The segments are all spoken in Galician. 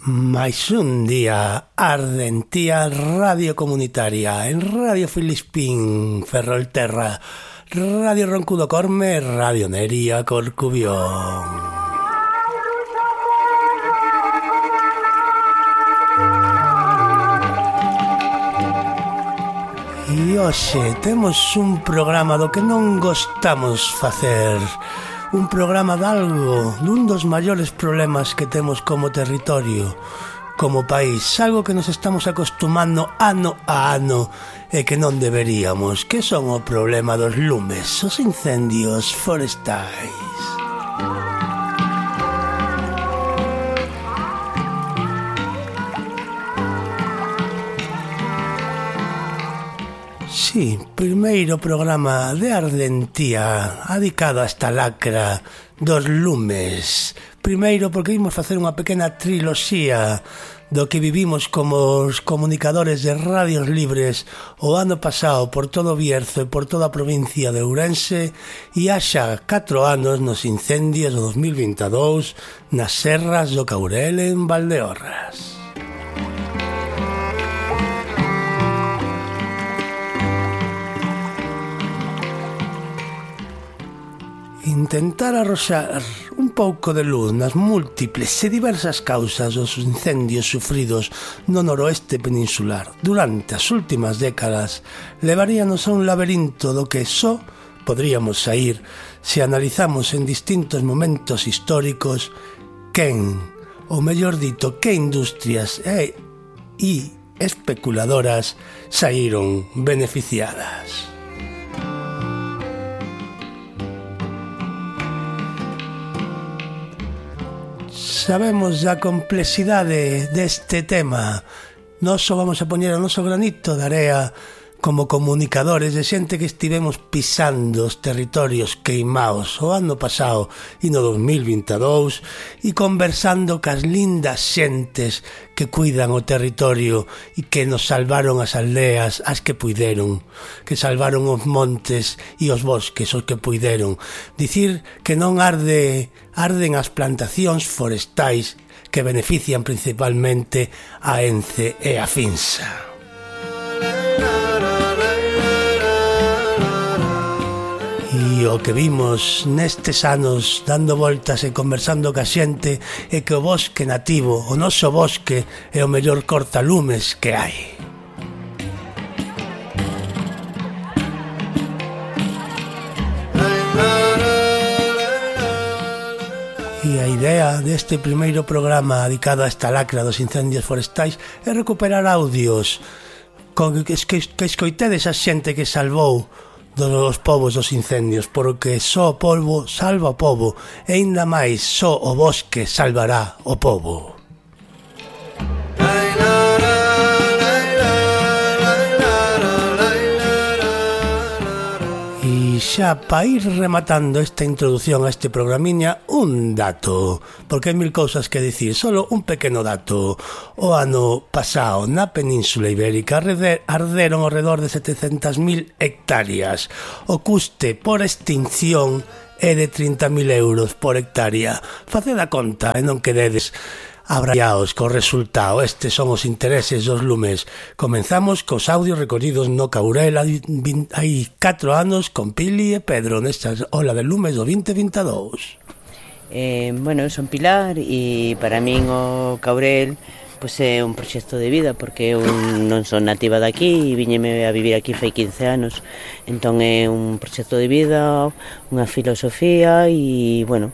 Mais un día arde en tía Radio Comunitaria, en Radio Filispín, Ferrolterra, Radio Roncudo Corme, Radio Neria Corcubión. E hoxe temos un programa do que non gostamos facer. Un programa de algo, dun dos maiores problemas que temos como territorio, como país, algo que nos estamos acostumando ano a ano e que non deberíamos, que son o problema dos lumes, os incendios forestais. Sí, primeiro programa de Ardentía dedicado a esta lacra dos lumes. Primeiro porque vimos facer unha pequena triloxía do que vivimos como os comunicadores de radios libres o ano pasado por todo o Bierzo e por toda a provincia de Ourense e haxa 4 anos nos incendios do 2022 nas serras do Caurel en Valdeorras. Intentar arroxar un pouco de luz nas múltiples e diversas causas dos incendios sufridos no noroeste peninsular durante as últimas décadas levaríanos a un laberinto do que só podríamos saír se analizamos en distintos momentos históricos quen, ou mellor dito, que industrias e especuladoras saíron beneficiadas. Sabemos a complexidade deste tema. Nós só vamos a poñer o noso granito de area como comunicadores de xente que estivemos pisando os territorios queimaos o ano pasado e no 2022 e conversando cas lindas xentes que cuidan o territorio e que nos salvaron as aldeas as que puideron, que salvaron os montes e os bosques os que puideron. Dicir que non arden as plantacións forestais que benefician principalmente a Ence e a Finsa. E o que vimos nestes anos dando voltas e conversando ca xente é que o bosque nativo, o noso bosque, é o mellor cortalumes que hai. E a idea deste primeiro programa dedicado a esta lacra dos incendios forestais é recuperar audios que escoitedes a xente que salvou dos povos dos incendios, porque só o polvo salva o povo e ainda máis só o bosque salvará o povo. E xa para ir rematando esta introdución a este programiña, un dato, porque hai mil cousas que dicir, solo un pequeno dato. O ano pasado na Península Ibérica arderon ao redor de 700.000 hectáreas. O custe por extinción é de 30.000 euros por hectárea. Faced a conta e non quededes abrallaos co resultado. Estes son os intereses dos lumes. Comenzamos cos audios recollidos no Caurel hai 4 anos con Pili e Pedro nesta ola de lumes do 2022. Bueno, eu son Pilar e para min o Caurel pois é un proxecto de vida porque eu non son nativa daqui e viñeme a vivir aquí fai 15 anos, entón é un proxecto de vida, unha filosofía e, bueno,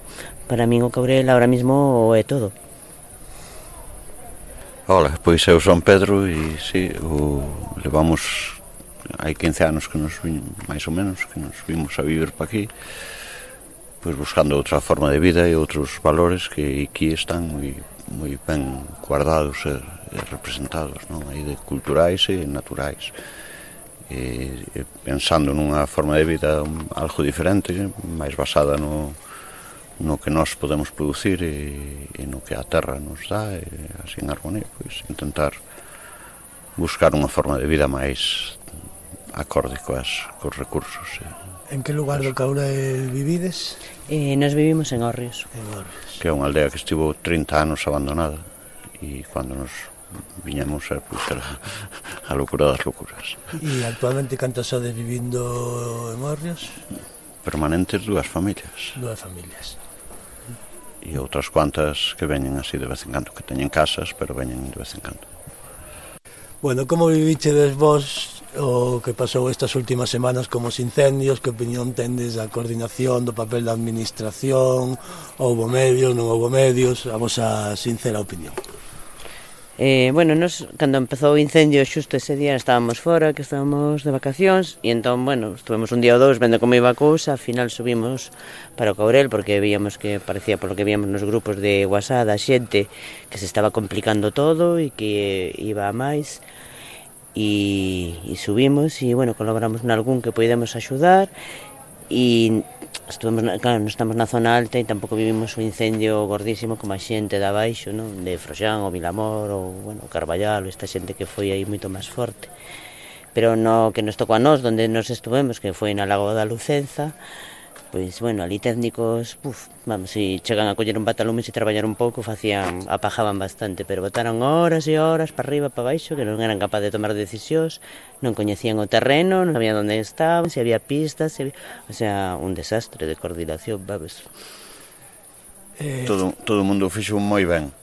para min o Caurel ahora mismo é todo. Ola, pois eu son Pedro e si, levamos hai 15 anos que nos máis ou menos que nos vimos a vivir pa aquí, pois buscando outra forma de vida e outros valores que aquí están moi ben guardados e representados, non? Aí de culturais e naturais, e pensando nunha forma de vida algo diferente, máis basada no que nós podemos producir e no que a terra nos dá, e así en armonía, pois intentar buscar unha forma de vida máis acorde cos recursos. En que lugar do Caurel vivides? Nos vivimos en Orrios. Que é unha aldea que estivo 30 anos abandonada e cando nos viñamos pois era a locura das locuras. E actualmente cantos sodes vivindo en Hórreos? Permanentes 2 familias. 2 familias. E outras cuantas que veñen así de vez en cando, que teñen casas, pero veñen de vez en cando. Bueno, como vivichedes vos o que pasou estas últimas semanas como os incendios? Que opinión tendes da coordinación, do papel da administración? Houbo medios, non houbo medios? A vosa sincera opinión. Bueno, nos, cando empezou o incendio xusto ese día estábamos fora, que estábamos de vacacións, e entón, bueno, estuvemos un día ou dous vendo como iba a cousa. Al final subimos para o Caurel porque víamos que parecía, por lo que víamos nos grupos de WhatsApp da xente, que se estaba complicando todo e que iba a máis, e subimos e, bueno, colaboramos nalgún que podemos axudar, e estuvemos, claro, non estamos na zona alta e tampouco vivimos un incendio gordísimo como a xente de abaixo, non? De Froxán ou Vilamor ou, bueno, Carballal, esta xente que foi aí moito máis forte. Pero no que nos tocou a nós, onde nos estuvemos, que foi na Lagoa da Lucenza, pois, bueno, ali técnicos, vamos, se chegan a coller un patalumes e traballar un pouco, apajaban bastante, pero botaron horas e horas para arriba, para baixo, que non eran capaces de tomar decisións, non coñecían o terreno, non sabían onde estaban, se había pistas, o sea, un desastre de coordinación, vamos. Todo o mundo fixo moi ben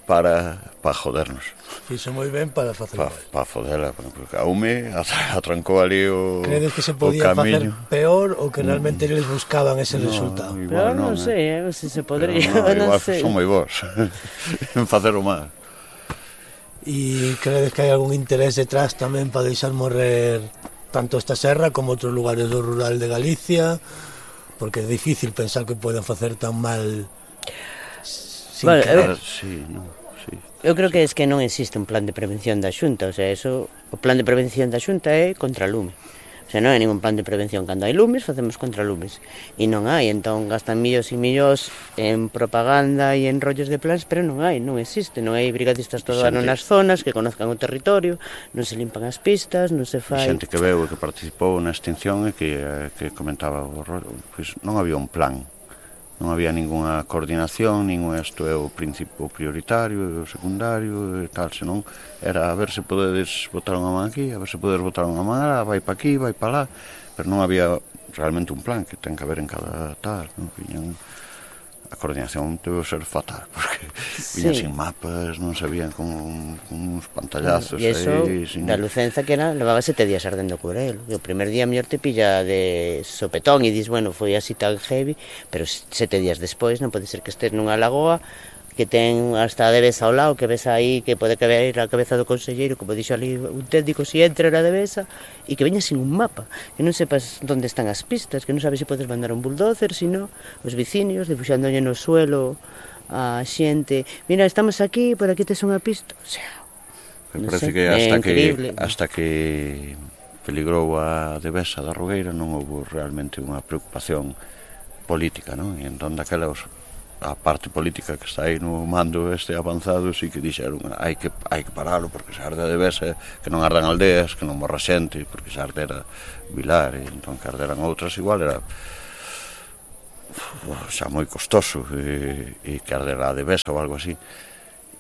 para jodernos. Fixo moi ben para facer mal. Para fodela, porque a UME atrancou ali o camiño. Credes que se podía facer peor ou que realmente eles buscaban ese resultado? Pero non sei, se se podría, non sei. Son moi vos en facer o mal. E credes que hai algún interés detrás tamén para deixar morrer tanto esta serra como outros lugares do rural de Galicia? Porque é difícil pensar que poden facer tan mal sin querer. Sí, non. Eu creo que non existe un plan de prevención da Xunta, o sea, o plan de prevención da Xunta é contra lume. O sea, non hai ningún plan de prevención. Cando hai lumes, facemos contra lumes. E non hai, entón gastan millóns e millóns en propaganda e en rollos de plans, pero non existe. Non hai brigadistas todo ano nas zonas que conozcan o territorio, non se limpan as pistas, non se fai... Xente que veu e que participou na extinción e que comentaba o rollo, pois non había un plan. Non había ninguna coordinación, ningún isto é o principio prioritario, o secundario e tal, senón era a ver se podedes botar unha man aquí, a ver se podedes botar unha man lá, vai pa aquí, vai pa lá, pero non había realmente un plan que ten que haber en cada tal, non? A coordinación debe ser fatal, porque viñan sin mapas, non sabían con uns pantallazos aí. E iso, da Lucenza que era, levaba 7 días ardendo Curel. E o primer día mellor te pilla de sopetón e dis, bueno, foi así tan heavy, pero 7 días despois non pode ser que estés nunha lagoa que ten hasta a devesa ao lado, que ves aí que pode caber a cabeza do conselleiro, como dixo ali un técnico, si entra na devesa, e que veña sin un mapa, que non sepas onde están as pistas, que non sabes se podes mandar un bulldozer, sino os veciños, dibuixándolle no suelo a xente, mira, estamos aquí, por aquí tes unha pista, o sea, parece que hasta que peligrou a devesa da Rogueira non houve realmente unha preocupación política, non? E entón daquela a parte política que está aí no mando avanzado sí que dixeron hai que paralo porque se arde a devesa, que non ardan aldeas, que non morra xente, porque se ardera Vilar e entón que arderan outras igual era xa moi costoso e que ardera a devesa ou algo así.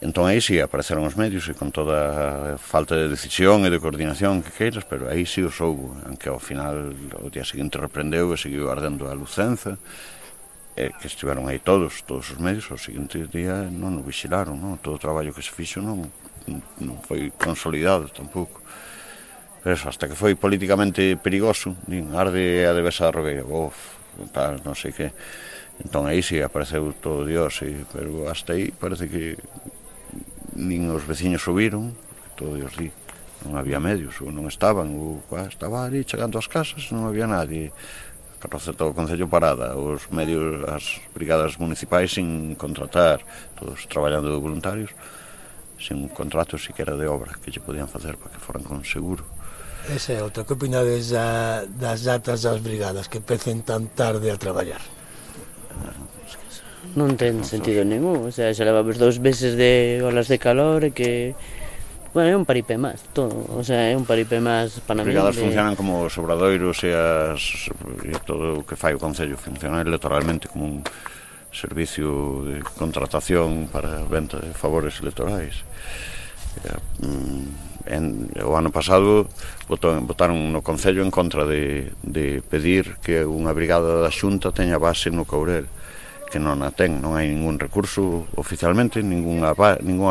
Entón aí sí apareceron os medios e con toda a falta de decisión e de coordinación que queiras, pero aí sí os houbo, aunque ao final o día seguinte reprendeu e seguiu ardendo a Lucenza, que estiveron aí todos os medios, ao seguinte día non o vixilaron, non? Todo o traballo que se fixo non foi consolidado tampouco. Pero eso, hasta que foi políticamente perigoso, arde a devesa da Rogueira, tal, non sei que. Entón aí sí apareceu todo Dios, pero hasta aí parece que nin os veciños subiron, porque todo Dios di, non había medios, ou non estaban, ou estaba ali chegando ás casas, non había nadie. Carroza todo o Concello parada, os medios, as brigadas municipais sin contratar, todos traballando de voluntarios, sin un contrato siquiera de obra que lle podían facer para que foran con seguro. Esa é outra. Que opinades das datas das brigadas que empecen tan tarde a traballar? Non ten sentido ningún, o sea, xa levamos 2 meses de olas de calor e que... Bueno, é un paripé máis, todo, o sea, é un paripé máis para mí. As brigadas funcionan como os obradoiros e todo o que fai o Concello, funciona electoralmente como servicio de contratación para venta de favores electorais. O ano pasado votaron no Concello en contra de pedir que unha brigada da Xunta teña base no Courel, que non a ten, non hai ningún recurso oficialmente, ninguna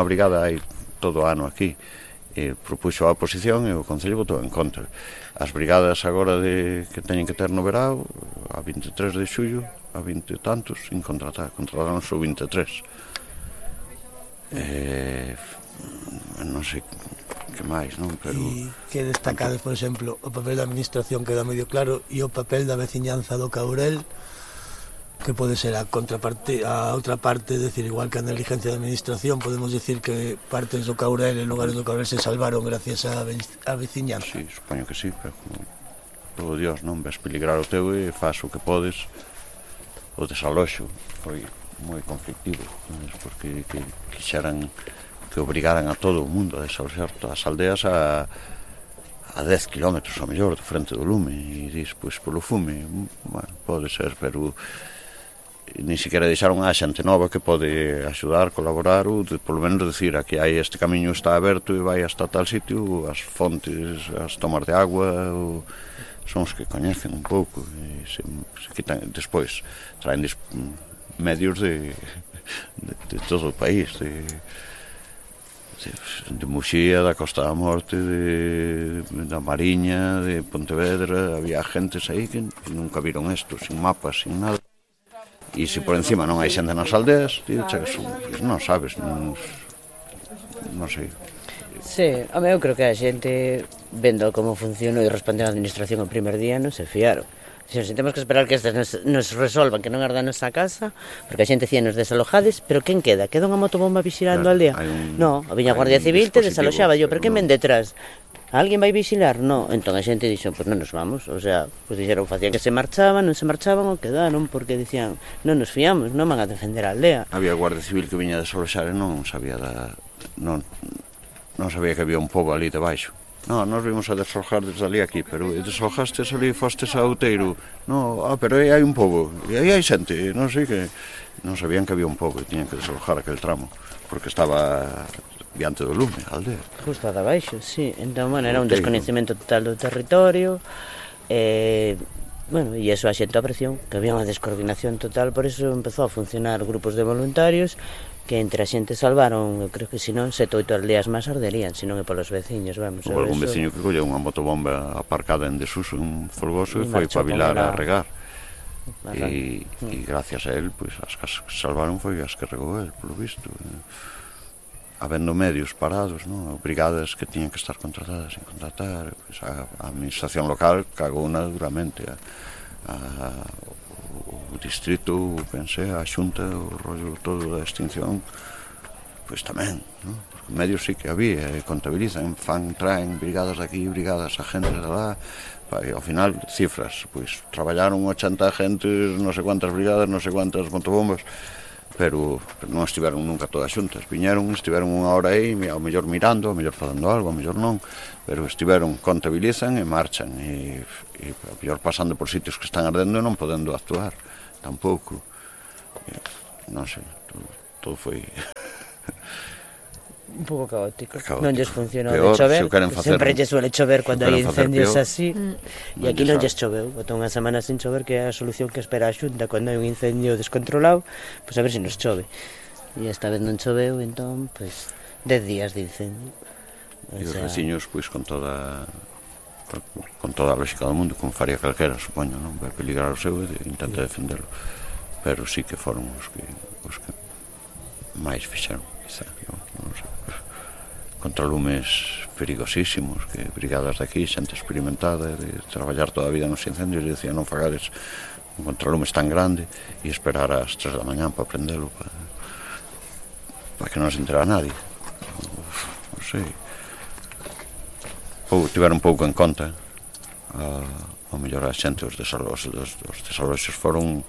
brigada hai todo o ano aquí. Propuxo a oposición e o Concello votou en contra. As brigadas agora que teñen que ter no verao, a 23 de xullo, a 20 e tantos, sin contratar, contrataron só 23. Non sei que máis, non? Pero E que destacades, por exemplo, o papel da administración queda medio claro e o papel da veciñanza do Courel, que pode ser a contraparte, a outra parte, decir, igual que a negligencia da administración, podemos decir que partes do Courel e lugares do Courel se salvaron gracias á veciñanza. Sí, supoño que sí, pero como todo Dios, non? Ves peligrar o teu e faz o que podes. O desaloxo foi moi conflictivo, porque quixeran que obrigaran a todo o mundo a desaloxar todas as aldeas a 10 kilómetros ao mellor de frente do lume, e dis, pois polo fume, bueno, pode ser, pero nin siquiera deixaron a xente nova que pode axudar, colaborar, ou polo menos decir, aquí hai este camiño está aberto e vai hasta tal sitio, as fontes, as tomas de agua, son os que coñecen un pouco, e se quitan, despois traen medios de todo o país, de Muxía, da Costa da Morte, da Mariña, de Pontevedra. Había gentes aí que nunca viron isto, sin mapas, sin nada. E se por encima non hai xente nas aldeas, non sabes, non sei. Sí, eu creo que a xente, vendo como funciona e respondeu a administración o primer día, non se fiaron. Se temos que esperar que estes nos resolvan, que non ardan nosa casa, porque a xente cía nos desalojades, pero quen queda? Queda unha motobomba vigilando a aldea? No, a viña Guardia Civil te desaloxaba, pero quen ven detrás? Alguén vai vigilar? No, entón a xente dixo, pois non nos vamos, o sea, pois dixeron, facían que se marchaban, non se marchaban ou quedaron, porque dicían, non nos fiamos, non van a defender a aldea. Había Guardia Civil que viña a desaloxar e non sabía non sabía que había un pobo ali debaixo. No, nos vimos a desalojar desde ali aquí, pero desalojastes ali, fostes a Outeiro. No, pero aí hai un pobo, e aí hai xente, non sei que... Non sabían que había un pobo e tiñan que desalojar aquel tramo, porque estaba diante do lume, a aldea. Justo abaixo, sí. Entón, bueno, era un descoñecemento total do territorio, bueno, e iso a xente a presión, que había unha descoordinación total, por iso empezou a funcionar grupos de voluntarios, que entre a xente salvaron, eu creo que senón 7 ou 8 aldeas máis arderían, senón é polos veciños, vamos. Houve algún veciño que colleu unha motobomba aparcada en desuso, un folgoso, e foi para Vilar a regar. E gracias a él, pois, as casas que salvaron foi as que regou él, polo visto. Habendo medios parados, non? Brigadas que tiñan que estar contratadas sin contratar, pois, a administración local cagouna duramente, o distrito, pensei, a xunta, o rollo todo da extinción, pois tamén, non? Porque medios sí que había, contabilizan, traen brigadas de aquí, brigadas a gente de lá, e ao final, cifras, pois traballaron 80 agentes, non sei cuántas brigadas, non sei cuántas motobombas, pero non estiveron nunca todas xuntas, viñeron, estiveron unha hora aí, ao mellor mirando, ao mellor facendo algo, ao mellor non, pero estiveron, contabilizan e marchan, e ao mellor pasando por sitios que están ardendo e non podendo actuar tampouco, non sei, todo foi un pouco caótico. Non lles funcionou de chover, sempre lles suele chover cando hai incendios así, e aquí non lles choveu, botou unha semana sin chover, que é a solución que espera a Xunta cando hai un incendio descontrolado, pois a ver se nos chove, e esta vez non choveu, entón, pois 10 días de incendio. E os veciños, pois, con toda a lógica do mundo, como faría calquera, supoño, non? Vai peligrar o seu e intenta defenderlo, pero sí que foron os que máis fixeron, quizá, non sei, contra lumes perigosísimos, que brigadas de aquí, xente experimentada, de traballar toda a vida nos incendios, e decían, non fagades un contralumes tan grande e esperar ás 3 da mañán para prendelo, para que non se entera nadie, non sei. Tiveron un pouco en conta, ao mellor a xente, os desaloxos foron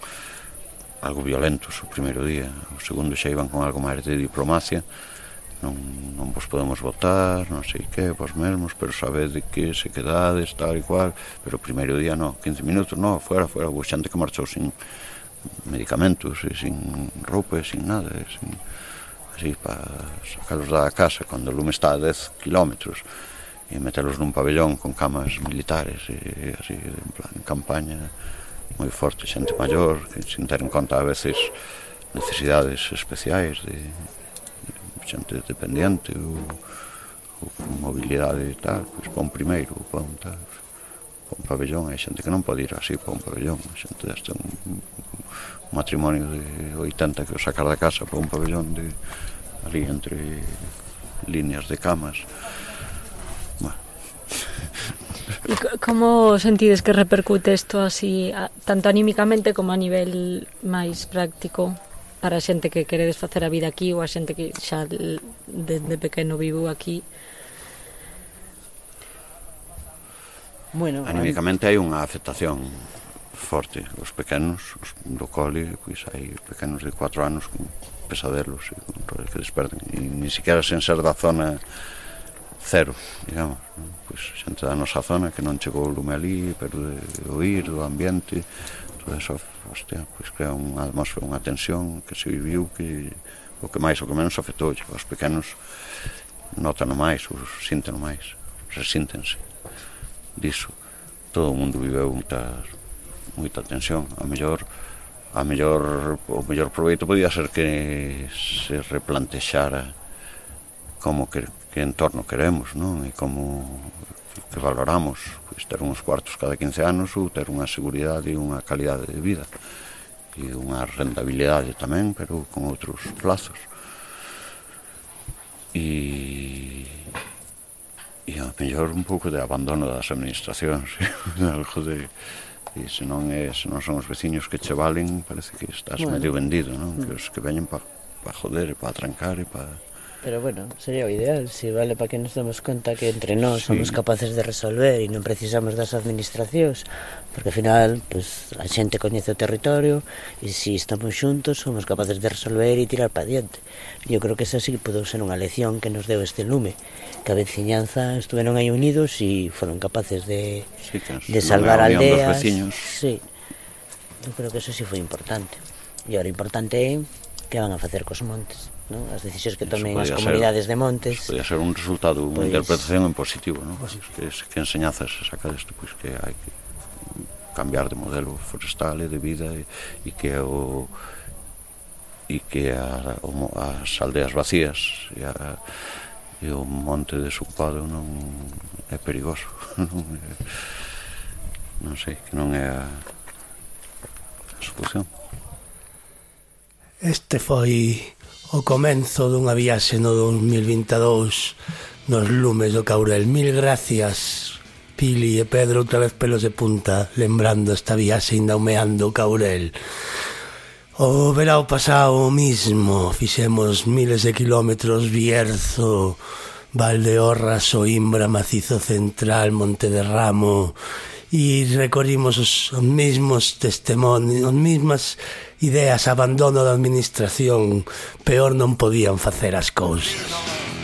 algo violentos o primeiro día, o segundo xa iban con algo máis de diplomacia, non vos podemos votar, non sei que, vos mesmos, pero sabede que se quedades, tal e cual, pero o primeiro día non, 15 minutos, non, fuera, houve xente que marchou sin medicamentos, e sin roupa, e sin nada, e sin, así, para sacarlos da casa cando o lume está a 10 kilómetros e metelos nun pabellón con camas militares e así, en plan, en campaña, moi forte, xente maior, que sin ter en conta a veces necesidades especiais de xente dependiente ou con mobilidade e tal, pois pon primeiro, pon tal, pon pabellón, hai xente que non pode ir así para un pabellón, a xente deste un matrimonio de 80 que o sacar da casa para un pabellón de ali entre líneas de camas. Bueno. E como sentides que repercute isto así, tanto anímicamente como a nivel máis práctico, para a xente que queredes facer a vida aquí ou a xente que xa desde pequeno vivo aquí? Bueno, anímicamente hai unha afectación forte. Os pequenos, os do cole, pois hai pequenos de 4 anos con pesadelos e con rollos que desperten, e ni siquiera sen ser da zona cero, digamos, pois xente da nosa zona que non chegou o lume ali, pero de oír do ambiente, todo eso, hostia, pois crea unha atmosfera, unha tensión que se viviu, que o que máis, o que menos afectou, os pequenos notan máis, os sinten máis, resíntense diso. Todo o mundo viveu moita tensión. O mellor proveito podía ser que se replantexara como que entorno queremos, non? E como que valoramos, pois ter uns cuartos cada 15 anos ou ter unha seguridade e unha calidade de vida e unha rentabilidade tamén, pero con outros plazos. E ao mellor un pouco de abandono das administracións, algo de... E se non son os veciños que che valen, parece que estás medio vendido, non? Que os que veñen para joder, para trancar e para... Pero bueno, sería o ideal, se vale para que nos demos conta que entre nós somos capaces de resolver e non precisamos das administracións, porque ao final, pues, a xente coñece o territorio e se estamos xuntos somos capaces de resolver e tirar para diante. Eu creo que esa sí podeu ser unha lección que nos deu este lume, que a veciñanza estuveron aí unidos e foron capaces de salvar aldeas. Sí, eu creo que eso sí foi importante. E agora importante é que van a facer cos montes, non? As decisións que tomen as comunidades de montes. Podía ser un resultado, unha interpretación en positivo, non? Que enseñazas a sacar isto, pois que hai que cambiar de modelo forestal e de vida e que as aldeas vacías e o monte desocupado non é perigoso. Non sei, que non é a solución. Este foi o comenzo dunha viaxe no 2022 nos lumes do Caurel. Mil gracias, Pili e Pedro, outra vez pelos de punta, lembrando esta viaxe ainda humeando o Caurel. O verao pasado mismo fixemos miles de kilómetros, Bierzo, Valdeorras, Soimbra, Macizo Central, Monte de Ramo, e recorrimos os mesmos testimonios, as mesmas ideas, abandono da administración, peor non podían facer as cousas.